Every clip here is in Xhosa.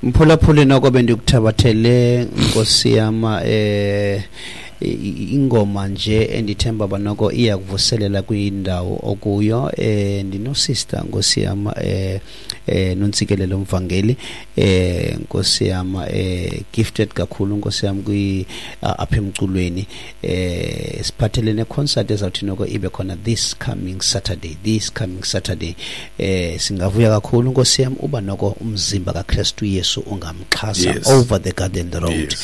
Mphulaphuli, noko bendikuthabathele, nkosi yama, ingoma nje endithemba banoko iyakuvuselela kwindawo okuyo. Ndinosister, nkosi yama, Nontsikelelo Mvangeli, nkosi yama, gifted kakhulu, nkosi yam, kwi apha emculweni. Siphathele ne-concert ezawuthi noko ibe khona this coming Saturday, this coming Saturday. Singavuya kakhulu, nkosi yam, uba noko umzimba kaKristu Yesu ungamxhasa over the Garden Road,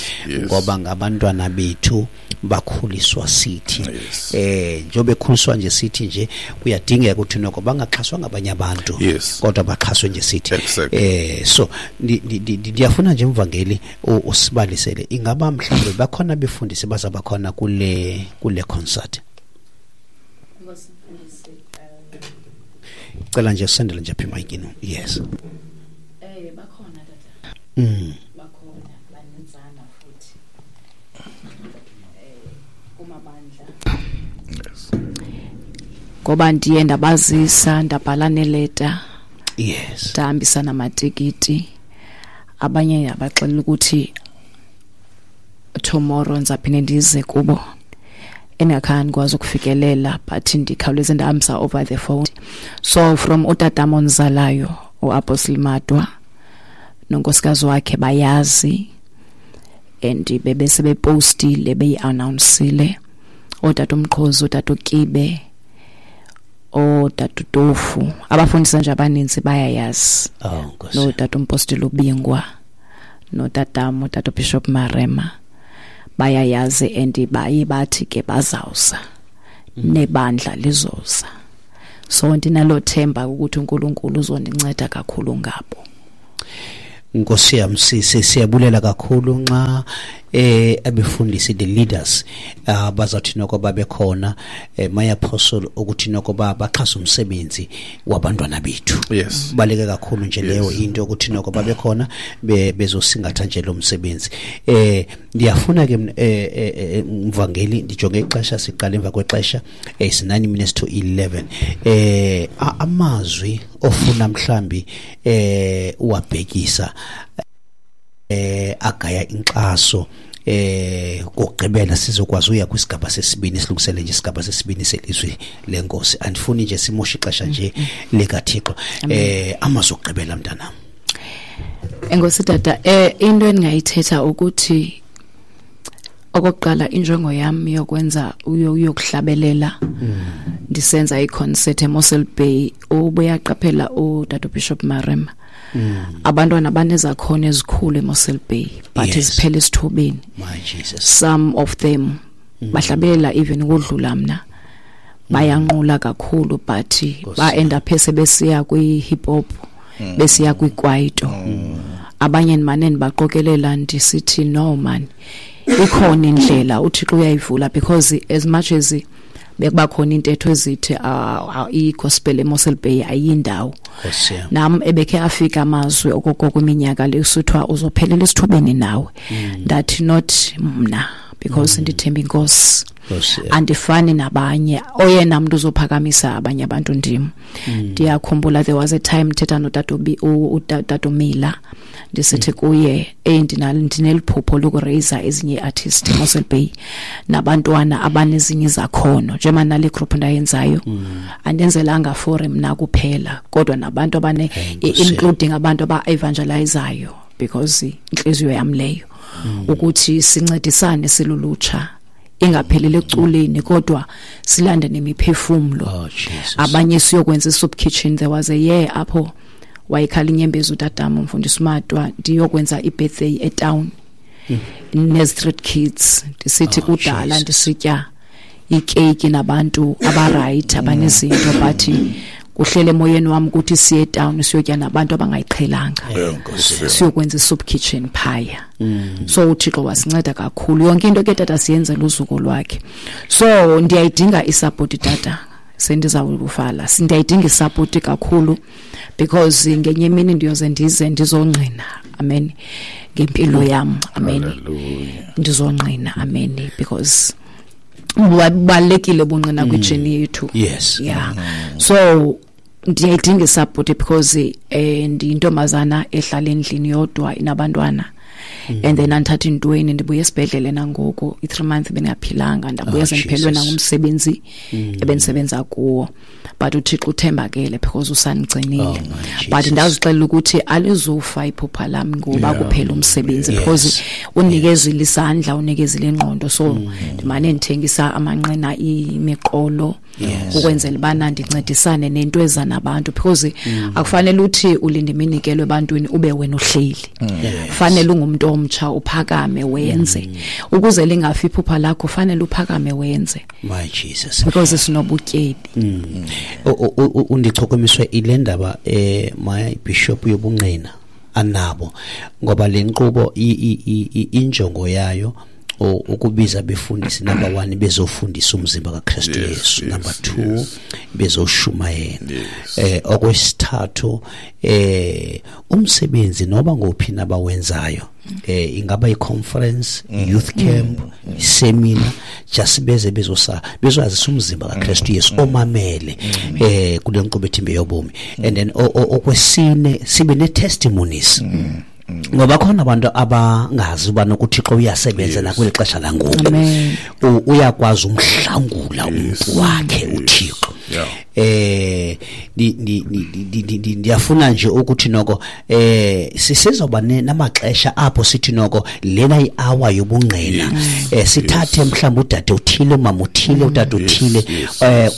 ngoba ngabantwana bethu, bakhuliswa sithi. Njengoba bekhuliswa nje sithi nje, kuyadingeka ukuthi noko bangaxhaswa ngabanye abantu, kodwa baxhaswe nje sithi. So ndiyafuna nje, mvangeli, usibalisele, ingaba mhlawumbe bakhona befundisi bazaba khona kule concert? Cela nje usendele nje apha emayikini. Yes. Bakhona, tata. Bakhona, baninzana futhi. Kumabandla. Ngoba ndiye ndabazisa, ndabhala neleta. Ndahambisa namatikiti. Abanye abaxelela ukuthi tomorrow ndizaphinde ndize kubo. Endingakhange ndikwazi ukufikelela, but ndikhawuleze ndahambisa over the phone. So from utatam ondizalayo, uApostle Madwa, nonkosikazi wakhe bayazi, and bebese bepostile, beyi-announcile. Ootata uMqhozi, ootata uKibe, ootata uTofu, abafundisi nje abaninzi bayayazi. Oh, Nkosi. Nootata uMpostile uBingwa, notatam utata uBishop Marema bayayazi, and baye bathi ke bazawuza, nebandla lizoza. So ndinalo themba ukuthi uNkulunkulu uzondinceda kakhulu ngabo. Nkosi yam, siyabulela kakhulu nxa abefundisi, the leaders, bazawuthi noko babe khona, my apostle, ukuthi noko baxhase umsebenzi wabantwana bethu. Baleke kakhulu nje leyo into ukuthi noko babe khona bezosingatha nje lo msebenzi. Ndiyafuna ke mvangeli, ndijonge ixesha, siqale emva kwexesha, is 9 minutes to 11. Amazwi ofuna mhlambi uwabhekisa agaya inkxaso kokugqibela, sizokwazi uya kwisigaba sesibini, silungisele nje isigaba sesibini selizwi lenkosi. Andifuni nje simoshe ixesha nje likaThixo. Amazwi okugqibela, mntanam. Enkosi, tata. Into endingayithetha ukuthi okokuqala, injongo yam yokwenza uyokuhlabelela, ndisenza i-concert eMossel Bay, ubuyaqaphela utata Bishop Marema, abantwana banezakhono ezikhulu eMossel Bay, but ziphela esithubeni. My Jesus. Some of them bahlabelela even ukudlula mna, bayanqula kakhulu, but ba end up sebesiya kwi hip hop, besiya kwikwaito. Abanye ndimane ndibaqokelela, ndisithi no man, ikhona indlela, uThixo uyayivula, because as much as bekuba khona intetho ezithi i-gospel eMossel Bay ayindawo, Nkosi yam. nam ebekhe afika amazwi okoko kwiminyaka le usithiwa uzophelela esithubeni nawe. Ndathi not mna, because ndithemba inkosi. Nkosi yam. Andifani nabanye, oyena mntu uzophakamisa abanye abantu ndim. Ndiyakhumbula there was a time ndithetha notata utata uMila, ndisithi kuye, hey, ndineliphupho lokuraise ezinye ii-artist eMossel Bay nabantwana abanezinye izakhono, njengoba nale group ndayenzayo, andenzelanga for mna kuphela, kodwa nabantu abane, Hey, Nkosi yam. including abantu aba-evangelizayo, because intliziyo yam leyo ukuthi sincedisane silulutsha, ingaphelele ekuculeni, kodwa silande nemiphefumlo. Oh, Jesus. Abanye siyokwenza i-soup kitchen. There was a year apho wayekhala inyembezi utatam umfundisi uMatwa, ndiyokwenza i-birthday etown ne-street kids, ndisithi Oh, kudala Jesus. ndisitya ikeyiki nabantu abaright, abanezinto, but kuhlele emoyeni wami ukuthi siye etown siyotya nabantu abangayiqhelanga, Nkosi. siyokwenza i-soup kitchen phaya. So uThixo wasinceda kakhulu. Yonke into ke, tata, siyenzela uzuko lwakhe. So ndiyayidinga isupport, tata, sendizawuvala. Ndiyayidinga isupport kakhulu, because ngenye imini ndiyoze ndize ndizongqina, amen, ngempilo yam, amen. Hallelujah. Ndizongqina, amen, because bubalulekile ubungqina kwijourney yethu. Yeah, so Ndiyayidinga isupport because ndiyintombazana ehlala endlini yodwa inabantwana. And then andithatha intweni, ndibuye esibhedlele nangoku i-3 months bengaphilanga, ndabuya sendiphelwe nangumsebenzi ebendisebenza kuwo. But uThixo uthembakele because usandigcinile. But ndazixelela ukuthi alizufa iphupha lami ngoba kuphela umsebenzi, because unikezile isandla, unikezile ingqondo. So ndimane ndithengisa amanqina, imiqolo, ukwenzela bana ndincedisane nento eza nabantu, because akufanele uthi ulinde iminikelo ebantwini ube wena uhleli. Fanele ungumuntu omtsha uphakame wenze, ukuze lingafi iphupha lakho, fanele uphakame wenze. My Jesus, because sinobutyebi. Undichukumiswe ile ndaba, my bishop, yobungqina anabo, ngoba le nkqubo injongo yayo ukubiza befundisi, number 1 bezofundisa umzimba kaKristu Yesu, number 2 bezoshumayela, okwesithathu umsebenzi noba ngophi nabawenzayo, ingaba i-conference, youth camp, seminar, just beze bezwazisa umzimba kaKristu Yesu omamele kule nkqubo ethimbe yobomi. And then okwesine sibe ne-testimonies, ngoba khona abantu abangazi uba nokuThixo uyasebenza nakweli xesha langoku, uyakwazi umhlangula umntu wakhe uThixo. Ndiyafuna nje ukuthi noko sisezoba namaxesha apho sithi noko lena i-hour yobungqina, sithathe mhlawumbi udade uthile, umama uthile, utata uthile,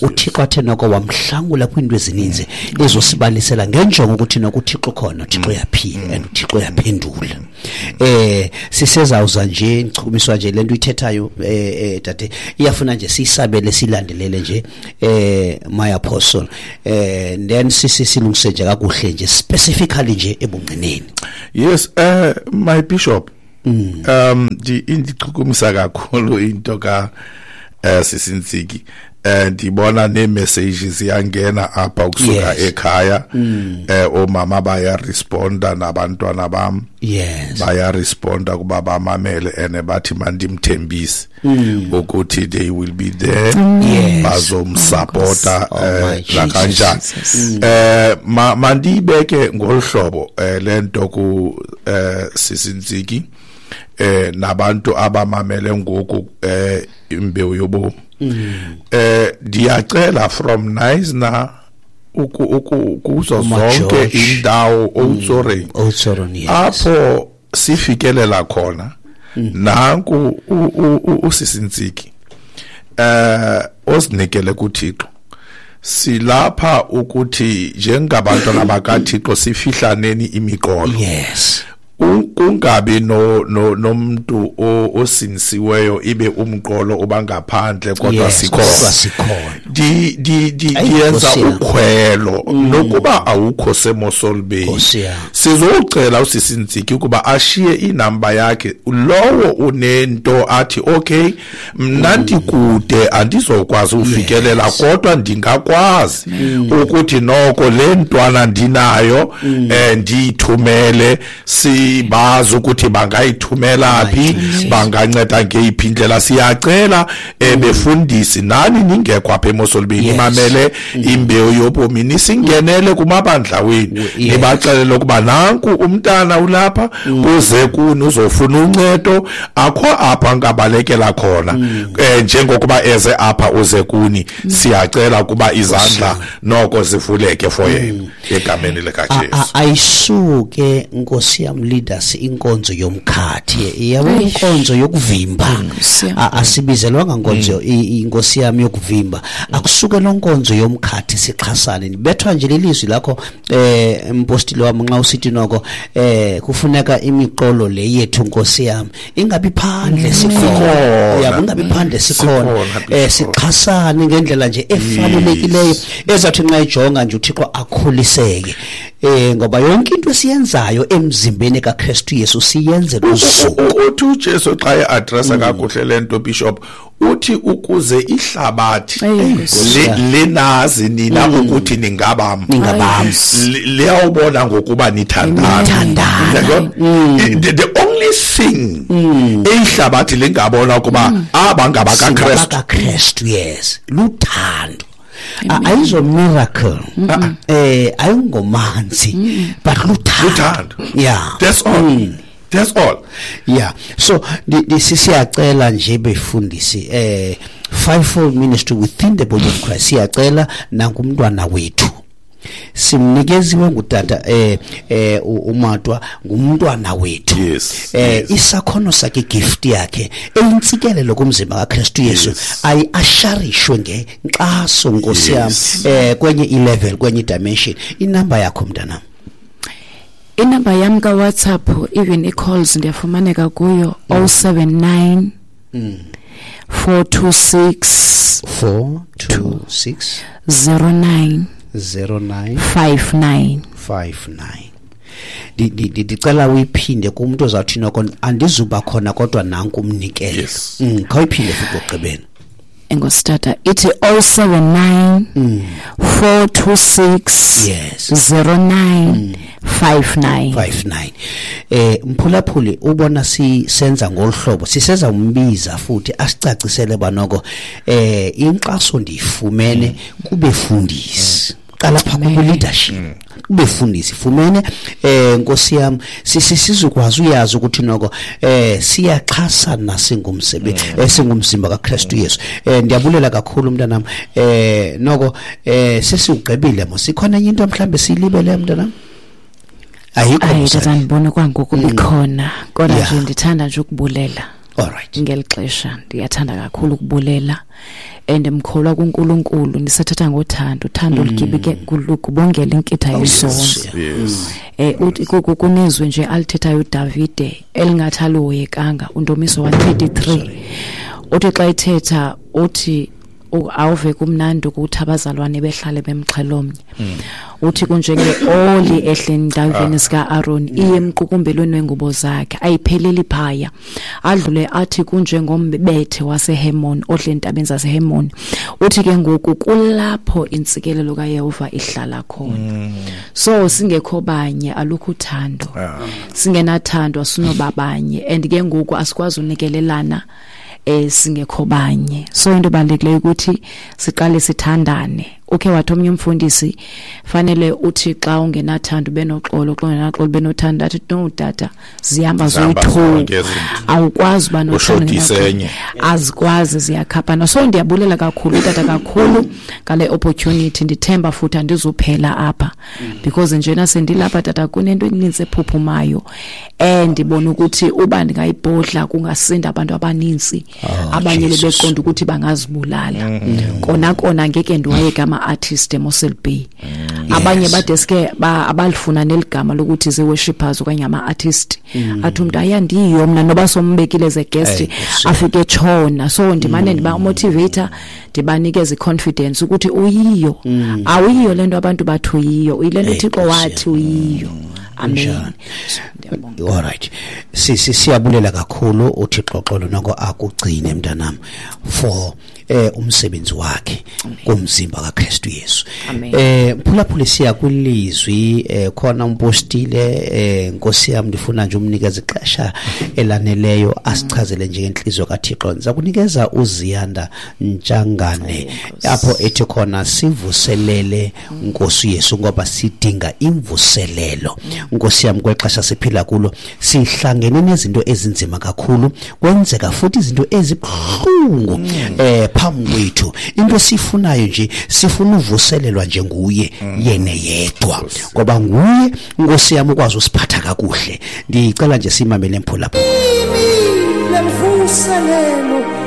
uThixo athe noko wamhlangula kwiinto ezininzi, ezosibalisela ngenjongo ukuthi noko uThixo khona, uThixo uyaphila and uThixo uyaphendula. Sisezawuza nje, ndichukumiswa nje lento ithethayo, dade, iyafuna nje siyisabele, silandelele nje, my apostle, then silungise nje kakuhle nje specifically nje ebungqineni. Yes, my bishop, indichukumisa kakhulu into ka Sisintsiki. Ndibona nee-messages ziyangena apha ukusuka ekhaya, omama bayaresponda nabantwana bam, bayaresponda kuba bamamele, and bathi mandimthembise ukuthi they will be there, bazomsupporta nakanjani. Mandiyibeke ngolu hlobo le nto ku Sisintsiki, nabantu abamamele ngoku imbewu yobomi. Ndiyacela from Knysna kuzo zonke indawo Oudtshoorn, apho sifikelela khona, nanku uSisintsiki ozinikele kuThixo. Silapha ukuthi njengabantwana bakaThixo sifihlaneni imiqolo. Kungabi nomuntu osinisiweyo ibe umqolo obangaphandle, kodwa sikhona. Ndiyenza ukhwelo nokuba awukho seMossel Bay, sizocela uSisintsiki ukuba ashiye inamba yakhe, lowo unento athi okay, mna ndikude andizokwazi ufikelela, kodwa ndingakwazi ukuthi noko le ntwana ndinayo ndiyithumele, sibazi ukuthi bangayithumela phi, banganceda ngeyiphi indlela. Siyacela befundisi nani ningekho apha eMossel Bay, nimamele imbewu yobomi, nisingenele kumabandla wenu, nibaxelele ukuba nanku umntana ulapha, uze kuni uzofuna uncedo, akho apha ngabalekela khona, njengokuba eze apha uze kuni. Siyacela kuba izandla noko zivuleke for yena egameni likaJesu. Ayisuke Nkosi yam leaders inkonzo yomkhathi, yabo, inkonzo yokuvimba, asibizelwanga nkonzo inkosi yami yokuvimba, akusuke lo nkonzo yomkhathi, sixhasane. Nibethwa nje lelizwi lakho, mpostile wami, nxa usithi noko kufuneka imiqolo le yethu Nkosi yami ingabi phandle sikhona, yabo, ingabi phandle sikhona, sixhasane ngendlela nje efanelekileyo ezathi nxa ijonga nje uThixo akhuliseke, ngoba yonke into esiyenzayo emzimbeni kaKristu Yesu siyenzela uzuko. Uthi uJesu xa e-addressa kakuhle le nto, bishop, uthi ukuze ihlabathi linazi nina ukuthi ningabam, liyawubona ngokuba nithandana. The only thing eyihlabathi lingabona ukuba aba ngabakaKristu, yes, luthando. Ayizo miracle, ayingomanzi, but luthando. Yeah, that's all. That's all. Yeah. So siyacela nje befundisi, fivefold ministry within the body of Christ, siyacela nangumntwana wethu simnikeziwe ngutata uMatwa, ngumntwana wethu. Yes. Isakhono sakhe, gift yakhe eyintsikelelo kumzimba kaKristu Yesu, ayi-asharishwe ngenkxaso, Nkosi yami, kwenye i-level, kwenye dimension. Inamba yakho, mntanam? Inamba yam ka-WhatsApp, even i-calls ndiyafumaneka kuyo, 079 426 426 09 09 59. 59. Ndicela uyiphinde kumuntu ozawuthi noko andizuba khona, kodwa nanku umnikelo. Khawuyiphinde futhi okugqibela. Enkosi tata. Ithi 079 426 09 59. 59. Mphulaphuli, ubona sisenza ngolhlobo, siseza umbiza futhi asicacisele banoko inkxaso ndiyifumene kubefundisi. Qala pha ku leadership, kubefundisi fumene, Nkosi yami, sizokwazi uyazi ukuthi noko siyaxhasana singumsebenzi, singumzimba kaKristu Yesu. Ndiyabulela kakhulu mntanami. Noko sesiugqibile mos, ikhona enye into mhlambe siyilibele, mntanami? Ayikho? Hayi tata, ndibona kwangoku bikhona, kodwa nje ndithanda nje ukubulela. All right. Ngeli xesha ndiyathanda kakhulu ukubulela, and mkholwa kuNkulunkulu, ndisathatha ngothando, uthando olugibike kubongela inkitha yesono. Uthi kunezwi nje alithethayo uDavide elingathi aliwoyekanga, undomiso 133, uthi xa ethetha uthi awuve kumnandi ukuthi abazalwane behlale bemxhelomnye. Uthi kunjenge-oli ehle endaweni sika-Aaron, iye emqukumbelweni wengubo zakhe, ayipheleli phaya. Adlule athi kunjengombethe waseHermon odle entabeni zaseHermon. Uthi ke ngoku kulapho intsikelelo kaYehova ihlala khona. So singekho banye alukho uthando, singenathando asinobabanye, and ke ngoku asikwazi unikelelana singekho banye. So into ebalulekileyo ukuthi siqale sithandane. Ukhe wathi omnye umfundisi, fanele uthi xa ungenathando benoxolo, xa ungenaxolo benothando. Athi no tata, zihamba zoyi-two, awukwazi uba nothando, azikwazi, ziyakhaphana. So ndiyabulela kakhulu tata, kakhulu ngale opportunity. Ndithemba futhi andizuphela apha, because njena sendilapha tata kunento eninzi ephuphumayo, ndibona ukuthi uba ndingayibhodla kungasinda abantu abaninzi. Abanye bebeqonda ukuthi bangazibulala. Kona ngeke ndiwayeke ama-artist eMossel Bay. Abanye badeske abalifuna neligama lokuthi ze-worshippers okanye ama-artist. Athi umuntu ayandiyo mna noba sombekile ze guest, afike etshona. So ndimane ndiba motivator, ndibanikeze i-confidence ukuthi uyiyo. Awuyiyo lento abantu bathi uyiyo, uyilento uThixo wathi uyiyo. Amen. All right. Siyabulela kakhulu, uThixo xolo noko akugcine mntanami for umsebenzi wakhe kumzimba kaKristu Yesu. Mphulaphuli, siya kwilizwi, khona umpostile, Nkosi yami, ndifuna nje umnikeze ixesha elaneleyo asichazele nje ngenhliziyo kaThixo. Ndiza kunikeza uZiyanda Ntshangane apho ethi khona sivuselele Nkosi Yesu, ngoba sidinga imvuselelo. Nkosi yami, kwexesha siphila kulo sihlangene nezinto ezinzima kakhulu, kwenzeka futhi izinto ezibuhlungu phambi kwethu. Into sifunayo nje, sifuna uvuselelwa nje nguye yena yedwa, ngoba nguye Nkosi yami ukwazi usiphatha kakuhle. Ndicela nje simamele mphulaphuli. Lemvuselelo.